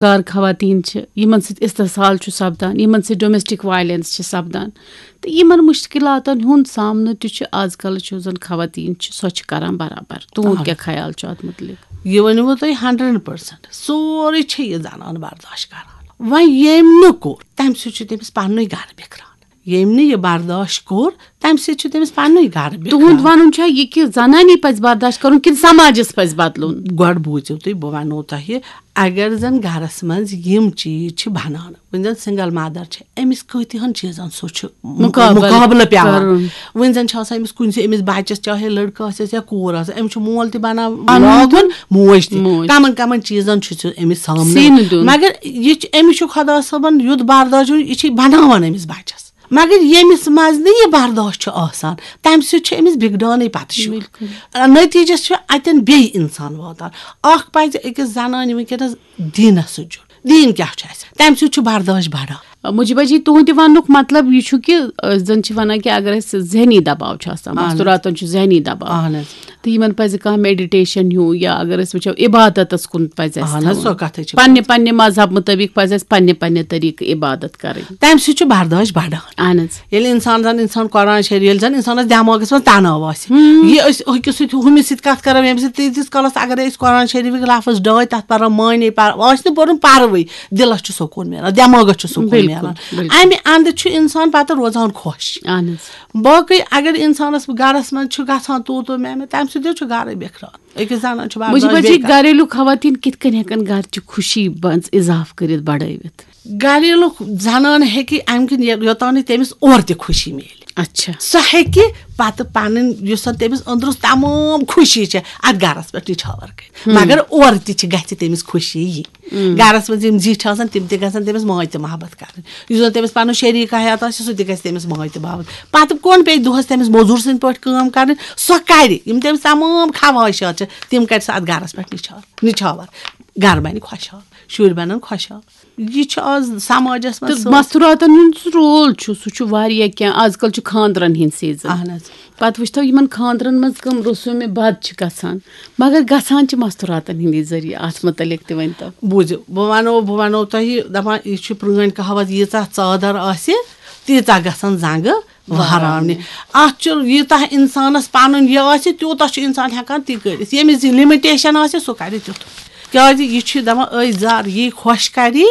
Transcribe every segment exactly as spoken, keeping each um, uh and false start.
کار خواتین چھِ، یِمن سۭتۍ استحصال چھُ سپدان، یِمن سۭتۍ ڈومیسٹک وائلنس چھِ سپدان، تہٕ یِمن مشکلاتن ہُنٛد سامنہٕ تہِ چھُ آز کل چھُ زن خواتین چھِ، سۄ چھِ کران برابر۔ تُہُنٛد آ۔ کیٛاہ خیال چھُ اتھ متعلق؟ یہِ ؤنِو تۄہہِ ہنڈریڈ پرسنٹ، سورُے چھِ یہِ زنان برداشت کران۔ وۄنۍ ییٚمۍ نہٕ کوٚر، تمہِ سۭتۍ چھُ تٔمِس پننُے گرٕ بِکھران۔ ییٚمۍ نہٕ یہِ برداشت کوٚر، تمہِ سۭتۍ چھُ تٔمِس پننُے گرٕ بِکھران۔ تُہُنٛد ونُن چھا یہِ کہِ زنانی پزِ برداشت کرُن کِنہٕ سماجس پزِ بدلُن؟ گۄڈٕ بوٗزِو تُہۍ، بہٕ ونو تۄہہِ، اگر زن گرس منٛز یِم چیٖز چھِ بنان، وۄنۍ زن سنگل مدر چھِ، أمِس کۭتِہن چیٖزن سُہ چھُ مُ-، مُقابلہٕ مُقابلہٕ پٮ۪وان۔ کرُن۔ وۄنۍ زن چھِ آسان أمِس کُنہِ سۭتۍ، أمِس بچس، چاہے لڑکہٕ آسٮ۪س یا کوٗر آسٮ۪س، أمِس چھُ مول تہِ بنان پنُن لاگُن، تہِ، موج تہِ۔ موج۔ کمن کمن چیٖزن چھُ سُہ أمِس سامنہٕ سیٖنہٕ دیُن۔ مگر یہِ چھُ، أمِس چھُ خۄدا صٲبن یُتھ برداشت دیُن، یہِ چھُ بناوان أمِس بچس۔ مگر ییٚمِس منٛز نہٕ یہِ برداشت چھُ آسان، تمہِ سۭتۍ چھُ أمِس بِگڑانٕے پتہٕ شُر۔ بِلکُل۔ نتیٖجس چھُ اتٮ۪ن بیٚیہِ انسان واتان۔ اکھ پزِ أکِس زنانہِ وٕنکیٚنس دیٖنس سۭتۍ جُڑُن۔ دیٖن کیٛاہ چھُ اَسہِ؟ تَمہِ سۭتۍ چھُ برداش بڑان۔ مجیبہ جی، تُہُنٛدِ وننُک مطلب یہِ چھُ کہِ، آ، زن چھِ ونان کہِ اگر اَسہِ ذہنی دباو چھُ آسان، اہن حظ۔ مستوٗراتن چھُ ذہنی دباو، اہن حظ۔ تہٕ یِمن پزِ کانٛہہ میڈیٹیشن ہیوٗ، یا اگر أسۍ وٕچھو عبادتس کُن پزِ اَسہِ اہن حظ، تھاوُن۔ سۄ کتھٕے چھِ۔ پننہِ پننہِ مذہب مطٲبق پزِ اَسہِ پننہِ پننہِ طریقہٕ عبادت کرٕنۍ۔ تَمہِ سۭتۍ چھُ برداش بڑان۔ اہن حظ۔ ییٚلہِ انسان زن، انسان قرآن شریف، ییٚلہِ زن انسانس دٮ۪ماغس منٛز تناو آسہِ، ہُم۔ یہِ أسۍ أکِس سۭتۍ ہُمِس سۭتۍ کتھ کرو، ییٚمہِ سۭتۍ تیٖتِس کالس اگر أسۍ قرآن شریفٕکۍ لفظ ڈٲے تتھ پرو معنی پر-، آسہِ نہٕ پوٚرمُت پروٕے، دِلس چھُ سکوٗن میلان، دٮ۪ماغس چھُ سکوٗن بِلکُل، میلان۔ بِلکُل۔ امہِ اندٕ چھُ انسان پتہٕ روزان خۄش۔ اہن حظ۔ باقٕے اگر انسانس گرس منٛز چھُ گژھان تو تو میں میں، تمہِ سۭتۍ چھُ گرے بِکھران۔ أکِس زنان چھُ برداش مجیبہ جی، بیٚیہِ کانٛہہ۔ گریلو خواتین کِتھ کٔنۍ ہٮ۪کن گرچہِ خوشی منٛز اضافہٕ کٔرِتھ، بڑٲوِتھ؟ گریلو زنان ہیٚکہِ امہِ کِنۍ یہِ-، یوٚتام نہٕ تٔمِس اورٕ تہِ خوشی میلہِ۔ اچھا۔ سۄ ہیٚکہِ پتہٕ پنٕنۍ یُس زن تٔمِس أنٛدرس تمام خوشی چھےٚ، اتھ گرس پٮ۪ٹھ نِچھاور کٔرِتھ۔ ہم۔ مگر اورٕ تہِ چھِ، گژھِ تٔمِس خوشی یی۔ ہم۔ گرس منٛز یِم زِٹھۍ آسان، تِم تہِ گژھن تٔمِس ماے تہٕ محبت کرٕنۍ۔ یُس زن تٔمِس پنُن شریٖک حیات آسہِ، سُہ تہِ گژھِ تٔمِس ماے تہٕ محبت۔ پتہٕ کون پیٚیہِ دۄہس تٔمِس موٚزوٗر سٕنٛدۍ پٲٹھۍ کٲم کرٕنۍ؟ سۄ کرِ۔ یِم تٔمِس تمام خواہشات چھِ، تِم کرِ سۄ اتھ گرس پٮ۪ٹھ نِچھاور، نِچھاور۔ گرٕ بنہِ خۄشحال، شُرۍ بنن خۄشحال۔ یہِ چھُ آز سماجس منٛز تہٕ سٲنۍ۔ مستوٗراتن ہُنٛد سُہ رول چھُ، سُہ چھُ واریاہ کینٛہہ۔ آز کل چھُ خانٛدرن ہٕنٛدۍ سیٖزن۔ اہن حظ۔ پتہٕ وٕچھتو یِمن خانٛدرن منٛز کٕم رسومِ بد چھِ گژھان، مگر گژھان چھِ مستوٗراتن ہٕنٛدی ذٔریعہٕ۔ اتھ متعلق تہِ ؤنۍتو۔ بوٗزِو، بہٕ ونو، بہٕ ونو تۄہہِ، دپان، یہِ چھُ پرٛٲنۍ کہاوت، ییٖژاہ ژادر آسہِ، تیٖژاہ گژھن زنٛگہٕ وہراونہِ۔ وہراونہِ۔ اتھ چھُ، ییٖژاہ انسانس پنُن یہِ آسہِ، تیوٗتاہ چھُ انسان ہٮ۪کان تی کٔرِتھ۔ ییٚمِس یہِ لِمِٹیشن آسہِ، سُہ کرِ تیُتھ۔ کیازِ یہِ چھُ دپان، أے زر، یی خۄش کری،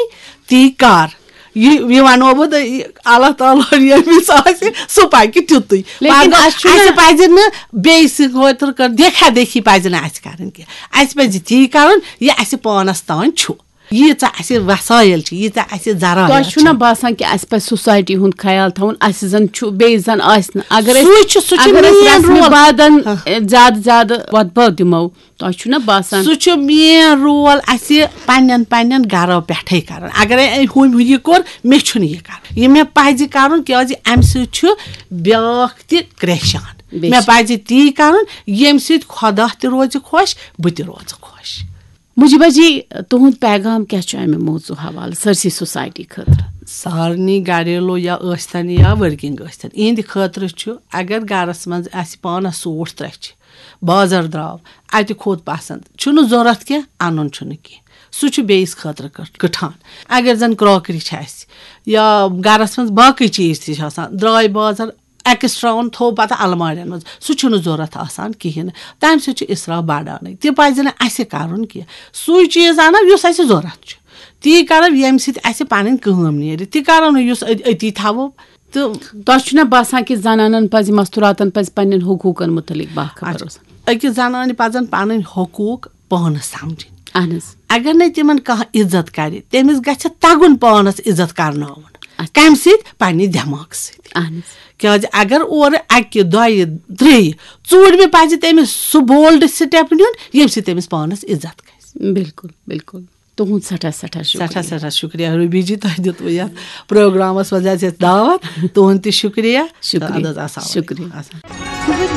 تی کر۔ یہِ، یہِ ونو بہٕ تۄہہِ، یہِ اللہ تعالیٰ ہن ییٚمِس آسہِ، سُہ پکہِ تیُتُے۔ لیکن مگر اَسہِ چھُنہٕ اَسہِ پزِ نہٕ بیٚیہِ سٕنٛدِ خٲطرٕ کر-، دیکھا دیکھی پزِ نہٕ اَسہِ کرٕنۍ کینٛہہ۔ اَسہِ پزِ تی کرُن، یہِ اَسہِ پانس تام چھُ۔ ییٖژاہ اَسہِ وسٲیِل چھِ، ییٖژاہ اَسہِ ذرایع تۄہہِ چھُو چھِ۔ نہ باسان کہِ اَسہِ پزِ سوسایٹی ہُنٛد خیال تھاوُن، اَسہِ زن چھُ، بیٚیہِ زن آسہِ نہٕ؟ اگر أسۍ، سُے چھُ، سُہ چھُ اگر أسۍ main رسمِ role۔ بادن، ہاں۔ زیادٕ زیادٕ وۄتبو دِمو، تۄہہِ چھُو نہ باسان؟ سُہ چھُ main role اَسہِ پننٮ۪ن، پننٮ۪ن گرو پٮ۪ٹھے کرُن۔ اگرے أمۍ ہُمۍ یہِ کوٚر، مےٚ چھُنہٕ یہِ کرُن۔ یہِ مےٚ پزِ کرُن، کیازِ امہِ سۭتۍ چھُ بیٛاکھ تہِ کرٛیشان۔ بے مےٚ شک۔ پزِ تی کرُن، ییٚمہِ سۭتۍ خۄدا تہِ روزِ خۄش، بہٕ تہِ روزٕ خۄش۔ مجیبہ جی، تُہُنٛد پیغام کیٛاہ چھُ امہِ موضوع حوالہٕ سٲرسٕے سوسایٹی خٲطرٕ؟ سارنٕے گریلو یا ٲسۍتن یا working ٲسۍتن، یِہنٛدِ خٲطرٕ چھُ، اگر گرس منٛز اسہِ پانس سوٗٹ ترٛےٚ چھِ، بازر درٛاو، اتہِ کھوٚت پسند، چھُنہٕ ضروٗرت کینٛہہ، انُن چھُنہٕ کینٛہہ، سُہ چھُ بیٚیِس خٲطرٕ کٔٹ-، کٕٹھان۔ اگر زن کراکری چھِ اسہِ یا گرس منٛز باقٕے چیٖز تہِ چھِ آسان، درٛاے بازر، ایکسٹرا اوٚن، تھوٚو پتہٕ المارٮ۪ن منٛز، سُہ چھُنہٕ ضروٗرت آسان کِہیٖنۍ۔ تَمہِ سۭتۍ چھُ اسراف بڑانٕے۔ تہِ پزِ نہٕ اَسہِ کرُن کینٛہہ۔ سُے چیٖز اَنو یُس اَسہِ ضروٗرت چھُ، تی کرو، ییٚمہِ سۭتۍ اَسہِ پنٕنۍ کٲم نیرِ۔ تہِ کرو نہٕ یُس أتۍ، أتی تھاوو۔ تہٕ تۄہہِ چھُنہ باسان کہِ زنانن پزِ، مستوٗراتن پزِ پننٮ۪ن حقوٗقن مُتعلق باخبر اچھا۔ روزُن؟ أکِس زنانہِ پزن پنٕنۍ حقوٗق پانس سمجھٕنۍ۔ اہن حظ۔ اگر نہٕ تِمن کانٛہہ عزت کرِ، تٔمِس گژھِ تگُن پانس عزت کرناوُن۔ اچھا۔ کمہِ سۭتۍ؟ پننہِ دٮ۪ماغہٕ سۭتۍ۔ اہن حظ۔ کیازِ اگر اورٕ اکہِ، دۄیہِ، ترٛیٚیہِ، ژوٗرمہِ پزِ تٔمِس سُہ bold step نیُن، ییٚمہِ سۭتۍ تٔمِس پانس عزت گژھِ۔ بِلکُل، بِلکُل۔ تُہُنٛد سٮ۪ٹھاہ، سٮ۪ٹھاہ شُکریہ۔ سٮ۪ٹھاہ، سٮ۪ٹھاہ شُکریہ روبی جی، تۄہہِ دیُتوٕ یتھ پروگرامس منٛز اَسہِ دعوت۔ تُہُنٛد تہِ شُکریہ۔ شُکریہ۔ اَدٕ حظ، السلام علیکم۔ شُکریہ۔ السلام۔